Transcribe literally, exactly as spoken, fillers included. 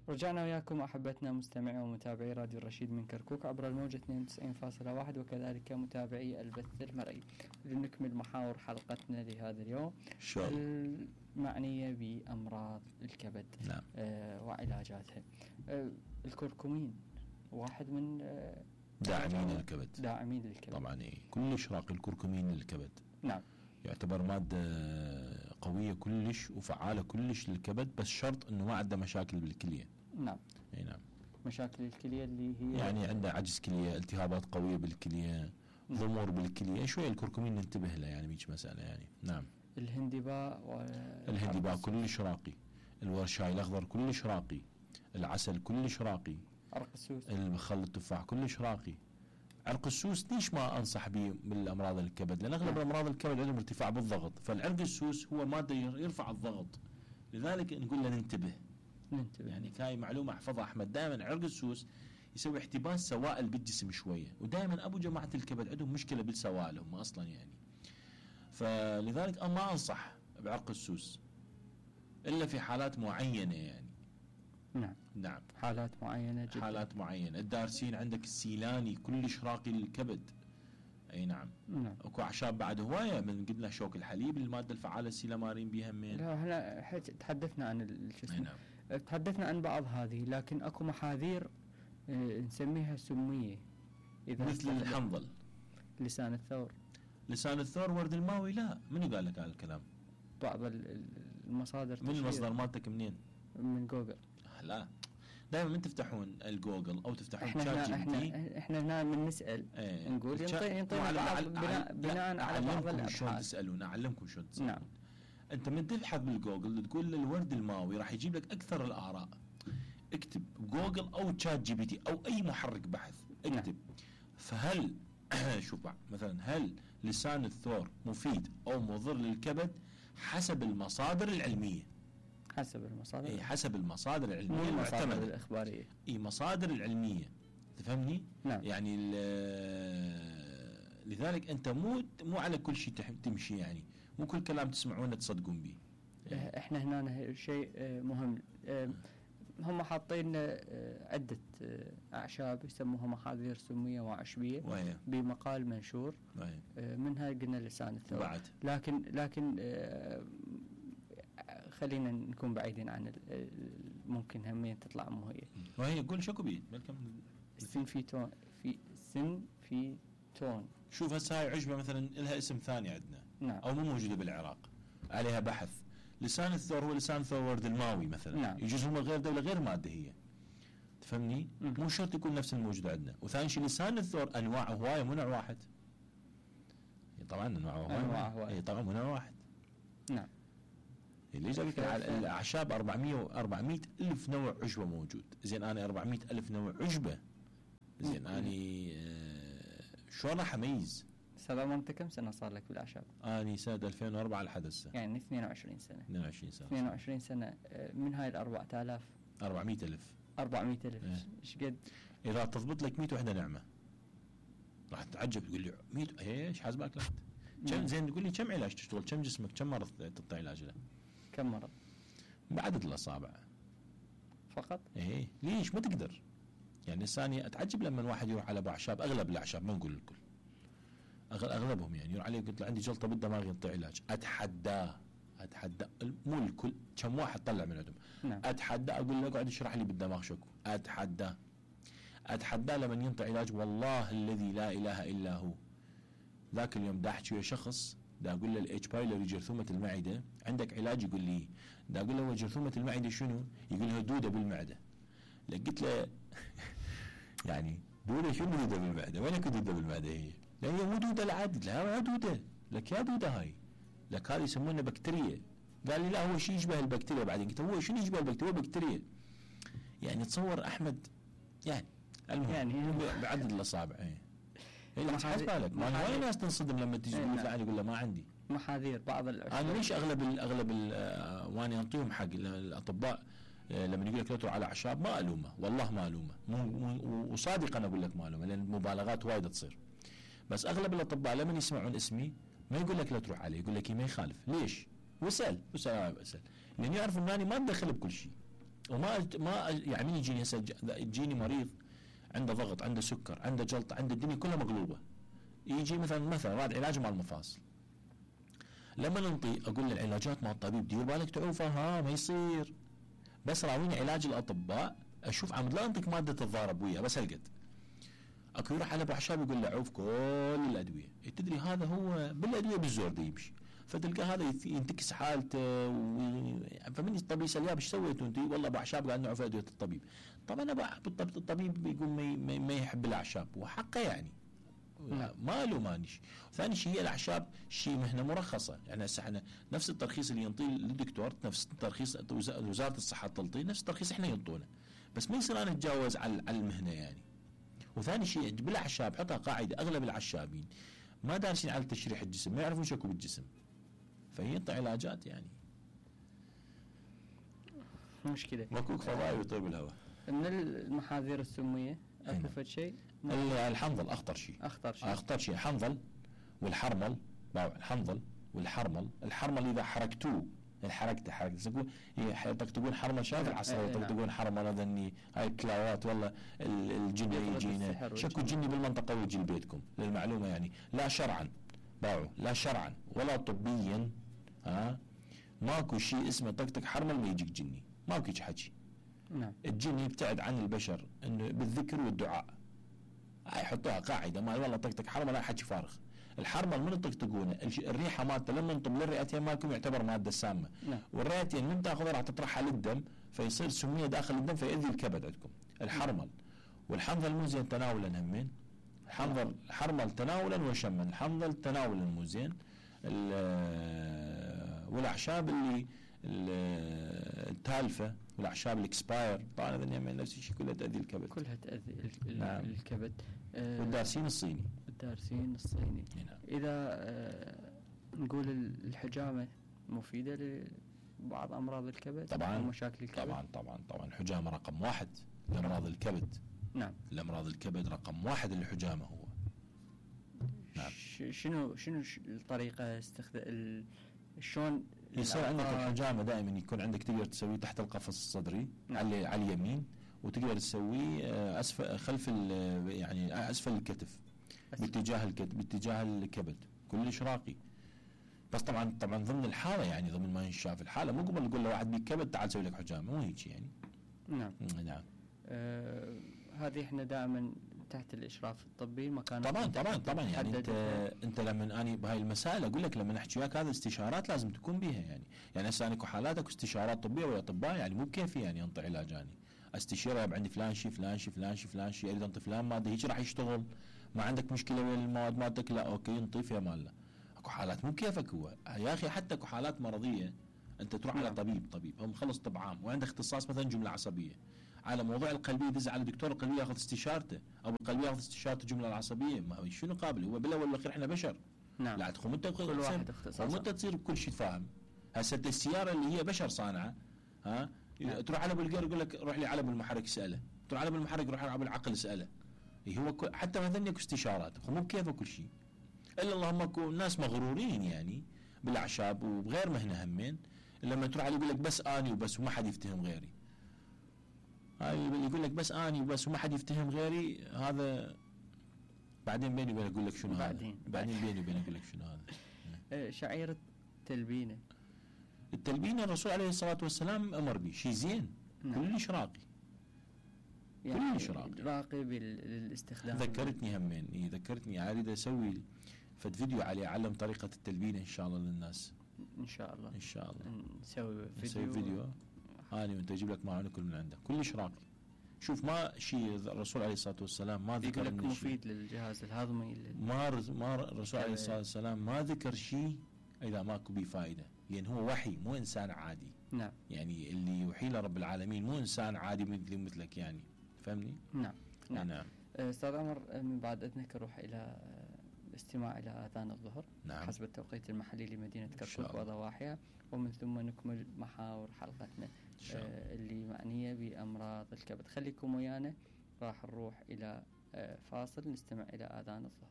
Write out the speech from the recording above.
رجعنا وياكم أحبتنا مستمعي ومتابعي راديو الرشيد من كركوك عبر الموجة اثنين وتسعين فاصلة واحد وكذلك متابعي البث المرئي. لنكمل محاور حلقتنا لهذا اليوم المعنية بأمراض الكبد. نعم. آه وعلاجاتها. آه الكركمين واحد من آه داعمين الكبد داعمين للكبد طبعا. إيه كلش راقي الكركمين للكبد. نعم. يعتبر مادة قوية كلش وفعالة كلش للكبد، بس شرط انه ما عنده مشاكل بالكلية. نعم. اي نعم. مشاكل الكلية اللي هي يعني عنده عجز كلية، التهابات قوية بالكلية، ضمور بالكلية، شوية الكركمين ننتبه له يعني بيج مسألة يعني. نعم. الهندباء الهندباء كلش راقي، الورشاي الاخضر كلش راقي، العسل كلش راقي، عرق السوس، الخل التفاح كلش راقي. عرق السوس ليش ما انصح به بالامراض الكبد؟ لان اغلب امراض الكبد عندهم ارتفاع بالضغط، فالعرق السوس هو ماده يرفع الضغط، لذلك نقول له ننتبه. ننتبه يعني هاي معلومه احفظها احمد، دائما عرق السوس يسوي احتباس سوائل بالجسم شويه، ودائما ابو جماعه الكبد عندهم مشكله بالسوائل هم اصلا يعني. فلذلك انا ما انصح بعرق السوس الا في حالات معينه يعني. نعم. نعم. حالات معينة جدا. حالات معينة. الدارسين عندك السيلاني كلش راقي للكبد. اي نعم. نعم. اكو اعشاب بعد هواية، من قلنا شوك الحليب المادة الفعالة السيلامارين بيها من. لا احنا تحدثنا عن الجسم. نعم. تحدثنا عن بعض هذه، لكن اكو محاذير اه نسميها سمية. إذا مثل الحنظل، لسان الثور. لسان الثور، ورد الماوي. لا منو قال لك هذا الكلام؟ بعض المصادر. من المصدر مالتك منين؟ من جوجل. لا دائما من تفتحون الجوجل او تفتحون احنا شات جي بي تي، احنا هنا من نسال ايه نقول ينطي ينطينا بناء, بناء على بعض الابحاث. شلون تسالون، اعلمكم شلون تسالون. نعم. انت من تبحث بالجوجل تقول الورد الماوي راح يجيب لك اكثر الاراء. اكتب جوجل او شات جي بي تي او اي محرك بحث، اكتب. نعم. فهل شوف مثلا هل لسان الثور مفيد او مضر للكبد؟ حسب المصادر العلميه. حسب المصادر. اي حسب المصادر العلميه المعتمده الاخباريه. اي مصادر العلميه، تفهمني؟ نعم. يعني لذلك انت مو مو على كل شيء تمشي، يعني مو كل كلام تسمعونه تصدقون به. احنا هنا شيء مهم، هم حاطين عده اعشاب يسموها محاذير سميه وعشبيه وهي. بمقال منشور. وهي. منها قلنا لسان الثور. بعد. لكن لكن خلينا نكون بعيدين عن ممكن همين تطلع مو هي. وهي قول شكو بيه السنفيتون. في سنفيتون. شوف هسه هاي عشبه مثلا لها اسم ثاني عندنا. نعم. او مو موجوده بالعراق، عليها بحث. لسان الثور هو لسان ثور ورد الماوي مثلا. نعم. يجوز هم غير دوله غير ماده هي، تفهمني؟ م. مو شرط يكون نفس الموجود عندنا. وثاني شيء لسان الثور انواع هوايه مو نوع واحد. طبعا انواع هوايه. اي طبعا مو نوع واحد. نعم. اللي جابك على الاعشاب أربعمية الف نوع عشبه موجود. زين انا أربعمية الف نوع عشبه، زين اني آه شلون راح اميز؟ سلام. انت كم سنه صار لك بالاعشاب؟ اني سنه ألفين وأربعة لحد هسه، يعني اثنين وعشرين سنه. اثنين وعشرين سنه. اثنين وعشرين سنه. من هاي ال أربعة آلاف أربعمية الف أربعمية الف ايش قد؟ اذا تضبط لك مية وحده نعمه راح تتعجب، تقول لي مية ايش حاسبك لك كم؟ زين تقول لي كم علاج تشتغل؟ كم جسمك كم مرض تعطي علاج له؟ كم مرض؟ بعدد الاصابع فقط. ايه ليش ما تقدر؟ يعني الثانية اتعجب لما الواحد يروح على اعشاب، اغلب الاعشاب ما نقول الكل، اغلبهم يعني يروح عليه قلت له عندي جلطه بالدماغ ينطي علاج، اتحداه اتحدى مو الكل، كم واحد طلع من عندهم. نعم. اتحدى اقول له اقعد اشرح لي بالدماغ شكو، اتحداه اتحداه لما ينطي علاج والله الذي لا اله الا هو. ذاك اليوم دا احكي ويا شخص دا اقول له الاتش بايلوري جرثومه المعده عندك علاج؟ يقول لي دا اقول له جرثومه المعده شنو؟ يقول له دوده بالمعده. قلت له يعني دوده شنو دوده بالمعده؟ وين اكو دوده بالمعده هي؟ لا هي مو دوده العادي، لا دوده لك يا دوده هاي لك هذه يسمونها بكتيريا. قال لي لا هو شيء يشبه البكتيريا. بعدين قلت هو شنو يشبه البكتيريا؟ بكتيريا. يعني تصور احمد يعني المهم يعني بعدد الاصابع. ايه اللي حاسس بالك ما هواي ناس تنصدم لما تيجي تقول له يقول له ما عندي محاذير بعض الاشياء. انا ليش اغلب ال اغلب ال وانا انطيهم حق الاطباء لما يقول لك لا تروح على اعشاب ما الومه، والله ما الومه، وصادق انا اقول لك ما الومه لان المبالغات وايد تصير. بس اغلب الاطباء لما يسمعون اسمي ما يقول لك لا تروح عليه، يقول لك ما يخالف. ليش؟ واسال واسال واسال لان يعرف انني ما اتدخل بكل شيء. وما ما يعني من يجيني هسه يجيني مريض عنده ضغط، عنده سكر، عنده جلطه، عنده الدنيا كلها مقلوبه، يجي مثلا مثلا راد علاج مع المفاصل، لما ننطي اقول له العلاجات مع الطبيب دير بالك تعوفه، ها ما يصير، بس راويني علاج الاطباء اشوف عمد لا انطيك ماده تتضارب وياه بس هالقد. اكو يروح على ابو اعشاب يقول له عوف كل الادويه، تدري هذا هو بالادويه بالزور ده يمشي، فتلقى هذا ينتكس حالته و... فمن الطبيب يسال ايش سويتوا انت؟ والله ابو اعشاب قاعد نعوف ادويه الطبيب. طبعا ابو الطبيب بيقول ما, ما يحب الاعشاب وحقه يعني ما له مانش. ثاني شيء هي الاعشاب شيء مهنه مرخصه، يعني هسه احنا نفس الترخيص اللي ينطيه للدكتور، نفس الترخيص وزاره الصحه تنطيه، نفس الترخيص احنا ينطونه، بس ما يصير انا اتجاوز على المهنه يعني. وثاني شيء بالاعشاب حطها قاعده، اغلب العشابين ما دارسين على تشريح الجسم، ما يعرفون شكو بالجسم، فينطي علاجات يعني مشكله. ماكو فضائي ويطيب الهواء. من المحاذير السميه اكو فد شيء؟ الحنظل اخطر شيء، اخطر شيء اخطر شيء الحنظل والحرمل. الحنظل والحرمل، الحرمل اذا حركتوه الحركته حركته تقول يطقطقون حرمل، شايف العصر يطقطقون حرمل هذا اني هاي الكلاوات والله الجن يجينا، شكو جني بالمنطقه ويجي لبيتكم للمعلومه يعني، لا شرعا باعوا لا شرعا ولا طبيا، ها ماكو شيء اسمه طقطق حرمل ما يجيك جني، ماكو هيك حكي. نعم. الجن يبتعد عن البشر انه بالذكر والدعاء، هاي يحطوها قاعده ما والله طقطق حرمل لا حكي فارغ. الحرمل من تطقطقونه الريحه مالته لما انطب للرئتين مالكم يعتبر ماده سامه، نعم. والرئتين من تاخذها راح تطرحها للدم فيصير سميه داخل الدم فيؤذي الكبد عندكم. الحرمل والحنظل مو زين تناولا همين، الحنظل الحرمل تناولا وشما، الحنظل تناولا مو زين، والاعشاب اللي التالفه والاعشاب الاكسباير طبعا هذا نفس الشيء كلها تاذي الكبد، كلها تاذي نعم. الكبد. آه والدارسين الصيني الدارسين الصيني. نعم. اذا آه نقول الحجامه مفيده لبعض امراض الكبد طبعا ومشاكل الكبد؟ طبعا طبعا طبعا الحجامه رقم واحد لامراض الكبد. نعم. الامراض الكبد رقم واحد الحجامه هو. نعم. شنو شنو الطريقه استخدام شلون يصير عندك الحجامه دائما يكون عندك تقدر تسويه تحت القفص الصدري. نعم. على على اليمين، وتقدر تسويه اسفل خلف يعني اسفل الكتف باتجاه الكتف باتجاه الكبد كلش راقي. بس طبعا طبعا ضمن الحاله يعني ضمن ما ينشاف الحاله، مو قبل نقول له واحد بيك كبد تعال سوي لك حجامه، مو هيك يعني. نعم. نعم. آه هذه احنا دائما تحت الاشراف الطبي مكان. طبعا طبعا طبعا يعني انت انت لما اني بهاي المسائل اقول لك لما نحكي وياك هذا استشارات لازم تكون بيها يعني، يعني هسه انا حالاتك استشارات طبيه ولا اطباء يعني مو بكيفي يعني انطي علاج اني استشيره عندي فلان شيء فلان شيء فلان شيء فلان شيء اريد انطي فلان ماده هيك راح يشتغل، ما عندك مشكله ويا المواد مالتك لا اوكي انطي فيها مالنا. اكو حالات مو بكيفك هو يا اخي، حتى اكو حالات مرضيه انت تروح على طبيب طبيب هو مخلص طب عام وعنده اختصاص مثلا جمله عصبيه، على موضوع القلبيه يدز على دكتور القلبيه ياخذ استشارته، او القلبيه ياخذ استشاره الجمله العصبيه، ما هو شنو قابل هو بالاول والاخير احنا بشر. نعم. لا تخم انت كل واحد اختصاص وانت تصير بكل شيء فاهم. هسه السياره اللي هي بشر صانعه ها نعم. تروح على ابو القير يقول لك روح لي على ابو المحرك اساله، تروح على ابو المحرك روح على ابو العقل اساله. هو حتى مثلا اكو استشارات مو بكيفه كل شيء، الا اللهم اكو ناس مغرورين يعني بالاعشاب وبغير مهنه همين، لما تروح عليه يقول لك بس اني وبس وما حد يفتهم غيري. هاي اللي يقول لك بس اني وبس وما حد يفتهم غيري، هذا بعدين بيني وبينك اقول لك شنو بعدين هذا بعدين بيني وبينك اقول لك شنو هذا. شعيرة التلبينه التلبينه الرسول عليه الصلاه والسلام امر به شيء زين. نعم. كلش راقي يعني كلش راقي راقي بالاستخدام. ذكرتني همين إيه ذكرتني اريد اسوي فد فيديو عليه اعلم طريقه التلبينه ان شاء الله للناس ان شاء الله ان شاء الله نسوي فيديو نسوي فيديو اني وانت اجيب لك معانا كل من عندك كلش راقي. شوف ما شيء الرسول عليه الصلاه والسلام ما ذكر لك مفيد للجهاز الهضمي ما رز ما الرسول عليه الصلاه والسلام ما ذكر شيء اذا ماكو به فائده، لان هو وحي مو انسان عادي. نعم. يعني اللي يوحي له رب العالمين مو انسان عادي مثلي مثلك يعني فهمني. نعم نعم, نعم. استاذ عمر من بعد اذنك نروح الى الاستماع الى اذان الظهر. نعم. حسب التوقيت المحلي لمدينه كركوك وضواحيها، ومن ثم نكمل محاور حلقتنا آه اللي معنيه بامراض الكبد. خليكم ويانا، راح نروح الى آه فاصل نستمع الى اذان الظهر.